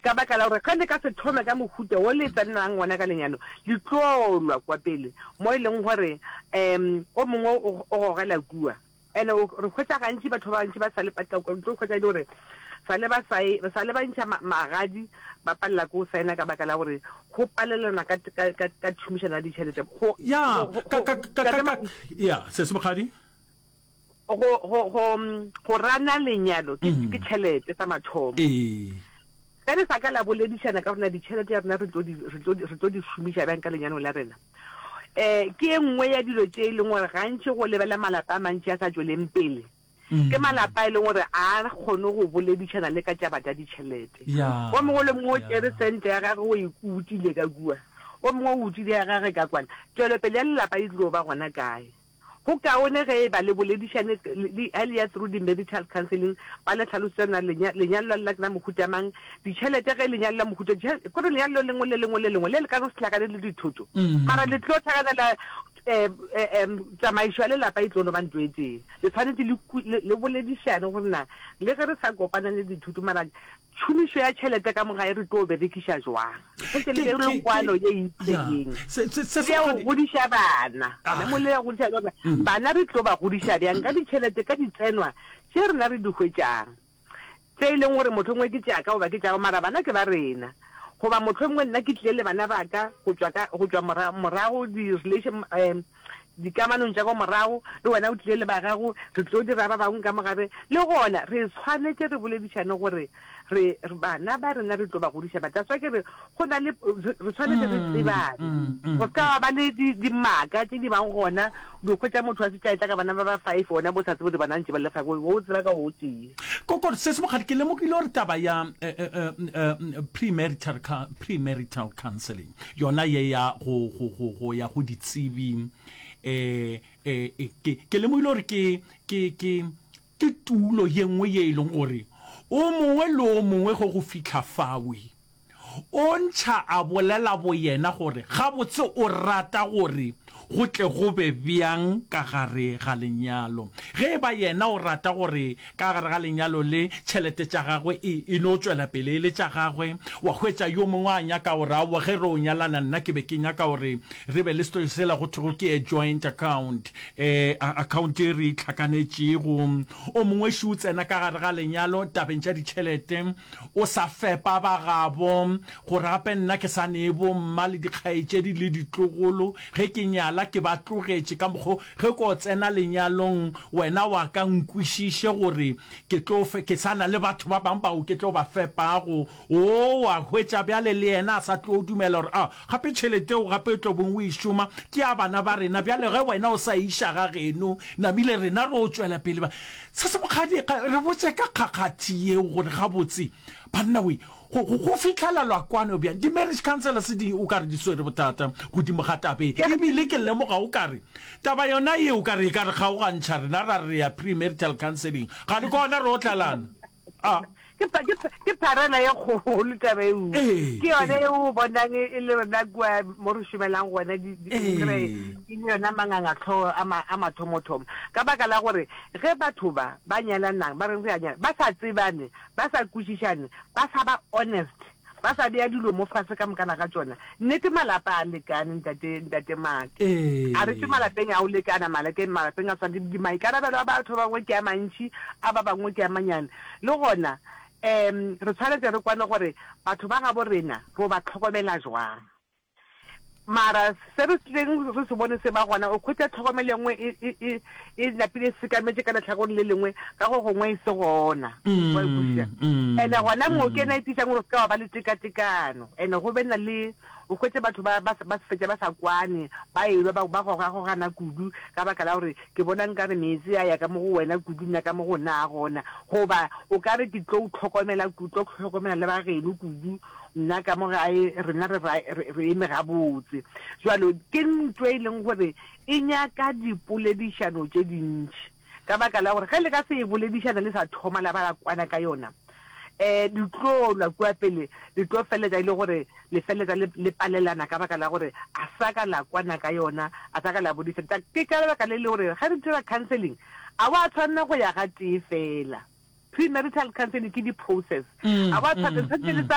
Ka baka la gore ge le ka se thome ka mohuta wo le tsenang wona ka lenyalo, le tlo lwa kwa pele, mo e leng gore um o mongwe o gogela kua. And re hwetša gantši batho ba bantši ba sa le, ba tla tlo hwetša e le gore sa le ba sa e, sa le ba ntšha magadi, ba palela ke go saena ka baka la gore go palelana ka, ka, ka, ka tšhomišano ya ditšhelete. Go, Ya, go, ka, go, ka, ka, ka, ka, ya, Sesi Mokgadi? Go, go, go, go rana lenyalo ke, ke tšhelete sa mathomo. Ee. Ge re sa ka la boledišana ka gore na ditšhelete ya rena re tlo di, re tlo di, re tlo di šomiša bjang ka lenyalong la rena, um ke e nngwe ya dilo tše e leng gore gantši go lebelela malapa a mantši a sa tšweleng pele, ke malapa a e leng gore a kgone go boledišana le ka tšaba tša ditšhelete. O mongwe le mongwe o tšere sente ya gagwe o e utile ka kua, o mongwe o utile ya gagwe ka kwana. Tšwelopele ya lelapa e tlo ba gona kae? Go kaone ge e ba le boledišane le, ge le ya through di-marital counselling, ba le hlalosetša na lenya, lenyalo la lena ke la mohuta mang, ditšhelete ge lenyalo la mohuta, ditšhe, kore lenyalo le lengwe le lengwe le lengwe le le ka no se hlakane le dithoto, mara le tlo hlakanela um, um, tsamaišo ya lelapa e tlo no ba ntho e tee. Le tshwanetše le, le, le boledišane gore na le ge re sa kopana le dithoto mara Tšhomišo ya tšhelete ka mo gae re tlo berekiša jwang? Ge le be kwano ye e itseng. Le ya go godiša bana. Gona mo le ya go godiša bana. Bana re tlo ba godiša bjang ka ditšhelete, ka ditsenwa tše rena re di hwetšang? Tše e leng gore mohlomongwe ke tša ka goba ke tša gago, mara bana ke ba rena. Goba mohlomongwe nna ke tlile le bana ba ka go tšwa ka, go tšwa morago di-relation, dikamanong tša ka morago, le wena o tlile le ba gago, re tlo dira ba bangwe ka mo gape. Le gona re swanetše re boledišane gore re, re bana ba rena re tlo ba godiša ba. That's why ke re go na le, re swanetše re tsebane. Go se ka ba le di, dimaka tše di bang gona, o hwetša motho a šetše a etla ka bana ba ba five, wena bo sa tsebe gore bana ntše ba le five, o tseba ka o tee. Kokore, Sesi Mokgadi, ke lemogile gore taba ya premarital, premarital counseling, Yona ye ya go, go, go, go ya go ditsebi, e, e, e, ke, ke lemogile gore ke, ke, ke, ke tulo ye nngwe ye e leng gore o mongwe le o mongwe ge go fihla fawe, o ntšha a bolela boyena gore gabotse o rata gore go tle go be bjang ka gare ga lenyalo. Ge e ba yena o rata gore ka gare ga lenyalo le tšhelete tša gagwe e, e no tšwela pele e le tša gagwe, wa hwetša yo mongwe a nyaka gore, Aowa, ge re o nyalana nna ke be ke nyaka gore re be le selo sela go thwego ke a joint account, e, a, account e re e hlakanetšego. O mongwe še o tsena ka gare ga lenyalo tabeng tša ditšhelete, o sa fepa ba gabo, gore gape nna ke sa nee bomma le dikgaetšedi le ditlogolo, ge ke nyala ke ba tlogetše ka mokgo, ge ko tsena lenyalong wena wa ka nkwešiše gore ke tlo fe, ke sa na le batho ba bangwe bao ke tlo ba fepago. O wa hwetša bjale le yena a sa tlo dumela gore a gape tšhelete eo gape o tlo bong o e šoma ke ya bana ba rena, bjale ge wena o sa e iša ga geno namile rena ro tšwela pele ba. Se se mokgadi, re botše ka kgakgathi yeo gore gabotse banna we, go, go, go fihlelelwa kwano bjang. Di-marriage counsellors di o ka re di swere bothata godimo ga taba e. E bile ke lemoga o ka re taba yona ye o ka re e ka re kgaogantšha rena ra re re ya pre-marital counselling, ga le gona re otlalana. A. Ke, ke, ke pharela ye kgolo taba eo. Ee, Ke yone ee. e o bonang e, e le rena kua mo re šomelang gona, di, di, Ee. kry e le yona mangangatlhogo a ma, a mathomothomo. Ka baka la gore ge batho ba ba nyalanang, ba reng re a nyala, ba sa tsebane, ba sa kwešišane, ba sa ba honest, ba sa bea dilo mo fase ka mokana ga tšona, nnete malapa a lekane, ntate, ntate Mark. Ee. A re tšwe malapeng a go lekana, malakeng, malapeng a swana, di, di, maikarabelo a batho ba bangwe ke a mantši, a ba bangwe ke a manyane. Le gona, um re tshwanetse re kwane gore batho ba gabo rena ro ba tlhokomela jwang. Mara se re tlileng re se bone se ba gona, o hwetša tlhokomelo e nngwe e, e, e, e napile e sekametše ka lehlakoreng le lengwe, ka go gongwe e se gona. Wa e kwešiša? And-e gona moo ke yona e tiišang gore o se ka wa ba le tekatekano. And-e go be na le, o hwetše batho ba, ba, ba fetša ba sa kwane, ba elwa, ba, ba gogagogana kudu ka baka la gore Ke bona nkare meetse a ya ka mo go wena kudu, nna ka mo go nna a gona. Goba o ka re ke tlo o hlokomela kudu, tlo hlokomela le ba geno kudu, nna ka mo gae rena re, re, re eme gabotse. Jwalo ke ntho e leng gore e nyaka dipoledišano tše dintši, ka baka la gore ge le ka se e boledišane le sa thoma la ba la kwana ka yona, um le tlo lwa kua pele, le tlo feleletša e le gore le feleletša le, le palelana ka baka la gore a sa ka la kwana ka yona, a sa ka la bodišana. Ta, ke ka lebaka le le gore ge re dira counselling, a wa tshwanela go ya gatee fela. Premarital counselling ke di-process. A wa tshwanela, tshwanetse le tsa.